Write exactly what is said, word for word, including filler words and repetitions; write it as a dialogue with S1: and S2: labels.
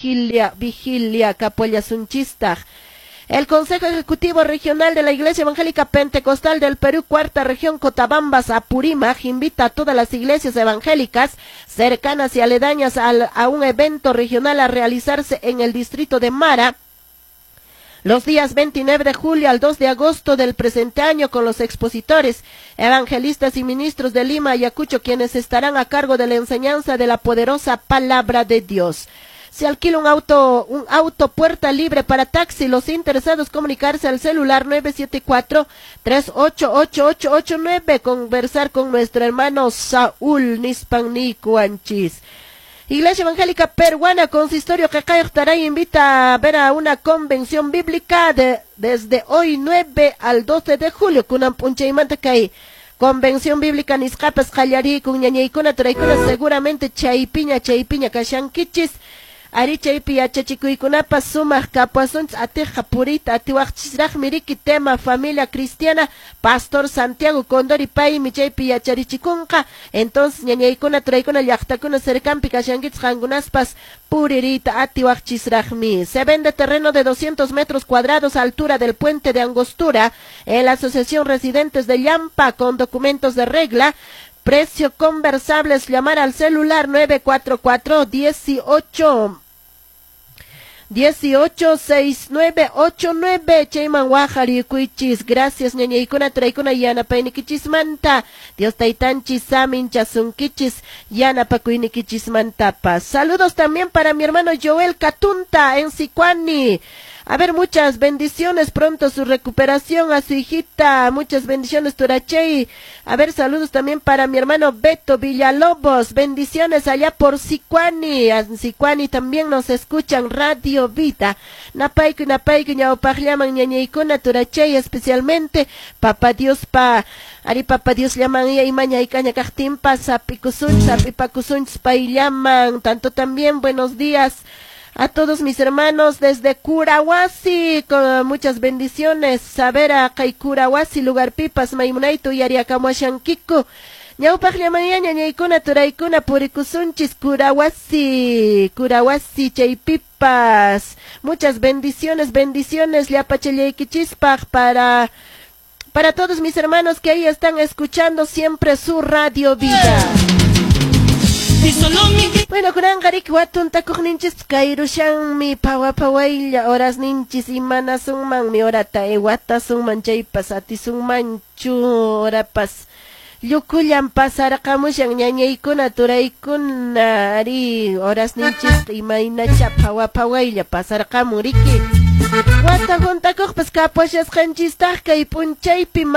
S1: vigilia, vigilia kapullasunchistaq. El Consejo Ejecutivo Regional de la Iglesia Evangélica Pentecostal del Perú, cuarta región Cotabambas, Apurímac, invita a todas las iglesias evangélicas cercanas y aledañas al, a un evento regional a realizarse en el distrito de Mara los días veintinueve de julio al dos de agosto del presente año, con los expositores, evangelistas y ministros de Lima, Ayacucho, quienes estarán a cargo de la enseñanza de la poderosa palabra de Dios. Se alquila un auto, un auto puerta libre para taxi. Los interesados comunicarse al celular nueve siete cuatro, tres ocho ocho ocho ocho nueve, conversar con nuestro hermano Saúl Nispannicuanchis. Iglesia Evangélica Peruana, Consistorio Qeqayuq Taray invita a ver a una convención bíblica de, desde hoy nueve al doce de julio. Kunan p'unchaymanta kay convención bíblica nisqapas qallarikun, ñañaykuna turaykuna, seguramente chaypiña chaypiña kashankichis. Ari chaypi yachachikuykunapas sumaq kapuasunchis atiqqa puriyta atiwaqchisraqmi riki tema familia cristiana, Pastor Santiago Condori paymi chaypi yacharichikunqa. Entonces ñañaykuna turaykuna llaqtakuna cercanpi kashankichis qankunaspas puririyta atiwaqchisraqmi. Se vende terreno de doscientos metros cuadrados a altura del puente de Angostura en la Asociación Residentes de Llampa con documentos de regla. Precio conversables, llamar al celular nueve cuatro cuatro, dieciocho, dieciocho, seis, nueve, ocho, nueve. Chayman wajarikuychis. Gracias ñañaykuna turaykuna yanapaynikichismanta. Dios taytanchis saminchasunkichis yanapakuynikichismantapas. Saludos también para mi hermano Joel Catunta en Sicuani. A ver, muchas bendiciones, pronto su recuperación a su hijita, muchas bendiciones, Turachey. A ver, saludos también para mi hermano Beto Villalobos, bendiciones allá por Sicuani. En Sicuani también nos escuchan Radio Vida. Napayku, napayku, ñawpaqllaman ñañaykuna, Turachey, especialmente, Papá Dios pa, ari Papá Dios llaman y imaña y caña kaqtinpas, sapikusunchis, sapipakusunchis, pay llaman. Tanto también, buenos días a todos mis hermanos desde Curahuasi, con muchas bendiciones. Saber a kay Curahuasi, lugar pipas, maimunaitu, yariakamuashankiku. Ñawpaq llamanña, ñañaykuna, turaykuna, purikusunchis, Curahuasi, Curahuasi, chaypipas. Muchas bendiciones, bendiciones, llapachallaykichispaq para, para todos mis hermanos que ahí están escuchando siempre su Radio Vida. Bueno, kunanqa riki watun takuqninchis kayrushanmi pawa pawaylla horas ninchis imanasunmanmi horata ewatasunman chaypas atisunmanchu horapas llukullan pasarqamushan ñañaykuna turaykuna ari horas ninchis imaynacha pawa pawaylla pasarqamun riki wata juntakuqpas kapuashasqanchistaq kay p'unchaypi.